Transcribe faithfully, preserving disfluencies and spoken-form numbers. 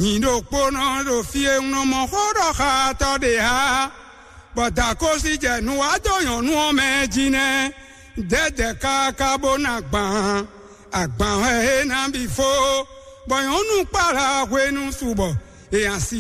Nyi ɖokpónɔ ɖo fí e un nɔ mɔ xó ɖɔ xá tɔ́ ɖe ǎ, bɔ dǎkósi jɛ nu wá dó nyɔ̌nu ɔ́ mɛ jí nɛ́. Dɛ̌dɛ̌ káká bó ná gbǎn, agbǎn wɛ é ná bǐ fó, bɔ nyɔ̌nu kpála hwenu su bɔ è nǎ sí